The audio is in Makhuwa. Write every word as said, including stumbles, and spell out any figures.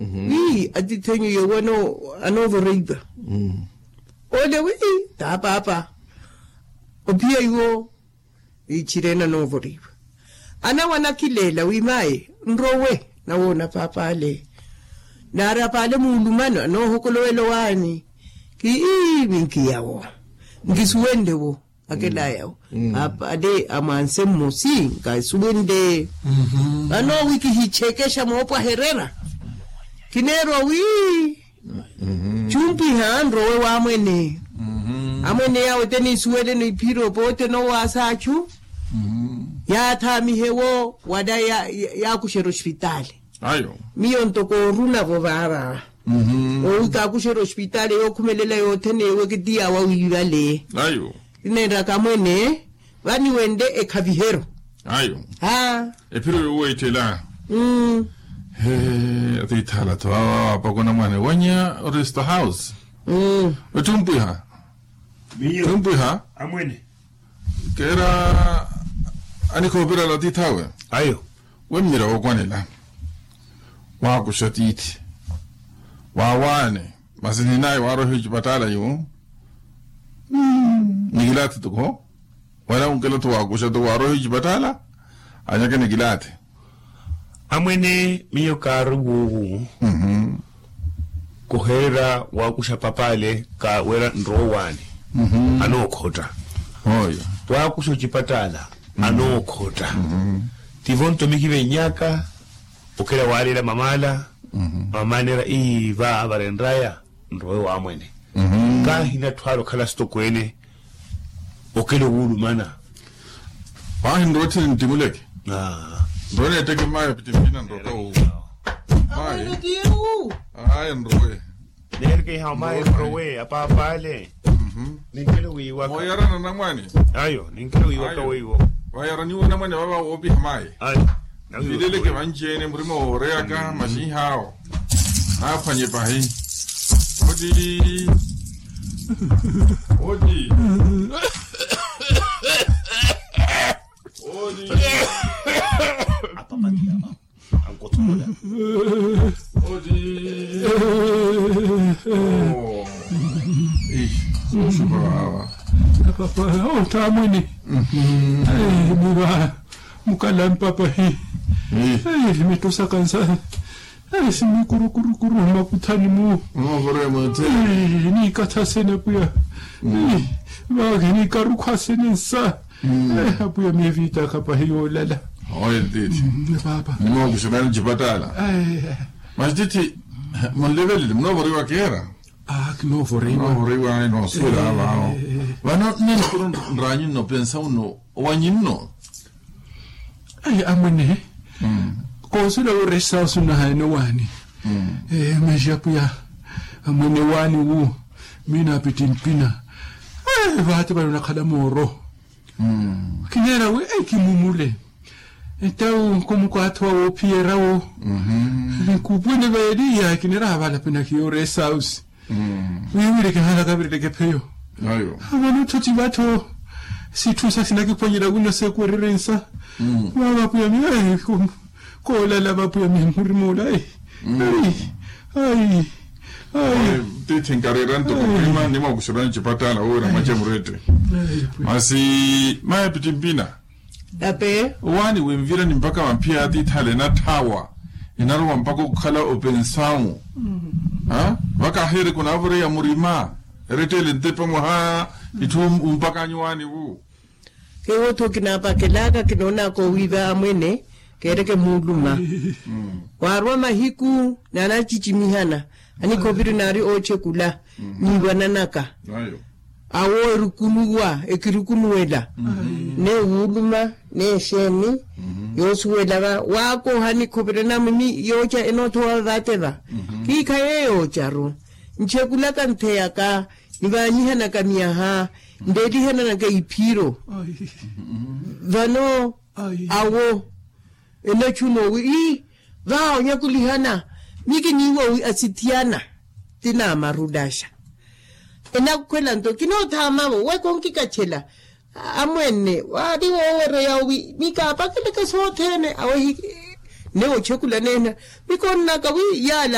Wi atithenyu yewo anoovora ipa. Ole wi, taa paapa, ophiya iwo. Ichirena anoovoriwa, anawo anakileela wi mayi, nrowe. Nawoona paapale, naari apaale muulumano anoohokolowela owaani. Ki ii minkiyawo, nkisuwenle wo. Akelayawo, paapale amwanse mmosi nkasuwenle. Vano wi kihichekexa moopwahererya, kineerwa wi chumpwiha nrowe wamwene. Amwene yawo tenisuweleno iphiro pote nowaasa achu. Yaathaamihewo wala yaakuxerya ospitaali. Miyo ntoko orunavo vaava, owi kaakuxerya ospitaali yookhumelela yothene ewe kitiyawa wiivale. Kinenraka amwene vaniwenle ekhaviheryo. Ayo. Ephiro yoweettela. Atiithaala-tho awa apakonamwane wanya oresta house. Ettumpwiha. Miyo. Ettumpwiha. Amwene. Keera anikhoopirala atiith'awe. Ayo. Wemmira wookwanela, waakuxa tiithi, waawaane. Masi ninaye waaroiha ocipattaala iwo. Nikilaathe toko wala unkela-tho waakuxa toko waaroiha ocipattaala, anyake nikilaathe. Amwene miyo kaari wuuwu. Kohererya waakuxa papaale ka wira nrowe waani, anookhotta. Waakuxa ocipattaala, anookhotta. Tivo nto mikivennyaka. Okela waalela mamaala. Mamaala neera ii va varenraya nrowe wamwene. Kaahina atthu ale okhala sitokweene. Okela owulumana. Paahi nrowe tthini nttimuleke. Nrowe neetteke mayi apittimpina nrowe ka wuuwa. Mayi. Ayi nrowe. Neerikeiha mayi nrowe apaapale. Ninkelo wiiwaka. Mooyarana namwani. Ayo ninkelo wiiwaka weiwo. Vayaraniwa onamwani vava woopiha mayi. Ayo. Vileleke vanci-ene murima wooreyaka maxinhaawo. Naaphwanye pahi. Oti. Oti. Oti. Apapatiya mama. Ankothoola. Oti. Soosupa vava. Apapa ottaamwene. Niva mukalampa pahi. Mitosaka nsa. Simikurukuru makuthani mu. Niikathasene apwiya. Vahi niikarukhasene nsa. Apwiya miyo viitaka pahi yoolala. Oye ntiithi. Paapa. Nimookuxerani ocipattaala. Masi tiithi, munlevelele munoovoriwa keera. Kinoovoriwa. Kinoovoriwa noosuwela vavo. Vano nne nikuru nraanyu nno opensa unno owanyu nno. Amwene. Koosuwela wi oresa osunahaene owaani. Mexi apwiya. Amwene waani wu. Miina apittimpina. Vaate vale onakhala mooro. Kineera wi kimumule. Entawu nkomukwatho wa woophiyerya wo. Nkupwene vaeliya kineera havala pinakiyo oresa usi. Wiiwile kihalaka virileke pheyo. Avano tho tivatho sitthu sa sinakiphwanyerya wino seekwererye nsa. Vava apwiya miyo koolala vapwiya miyo murima ola. Ayi. Ayi. Tiithi nkareera nto kumurima nimookuxerani ocipattaala wira mwace murette. Masi mayi apittimpina. Owaani winvirani mpakha vamphiya atiithale enatthaawa. Enarowa mpakha okhala opensawu. Vakaaheereke onaavoreya murima. Eretteele ntepe mwaha itthu umpakanyu waani vu. Keewo-tho kinaapakelaka kinoonaka owiiva amwene. Keereke muuluma. Waarwa mahiku naanacicimihana. Anikhoopiri naari oochekula. Niiwananaka. Awo erukunuwa ekirukunuwela. N'ewuuluma n'exeeni. Yoosuwela va waakoha nikhovirana muni yooca enoothowa vate va. Kiikhaye yoocaru nchekulaka ntheyaka. Nivaanyihanaka miyaha ndeelihananaka iphiro. Vano awo enachuno wi ii. Vaha onyakulihana. Mikiniiwa wi asithiyana ti naamarulaxa. Enakhwela nto kinoothaamavo weka onkikachela. Amwene waari woowereya wi mikaapakeleke sothene awehi. Newe ochekula neena mikonnaka wi yaala.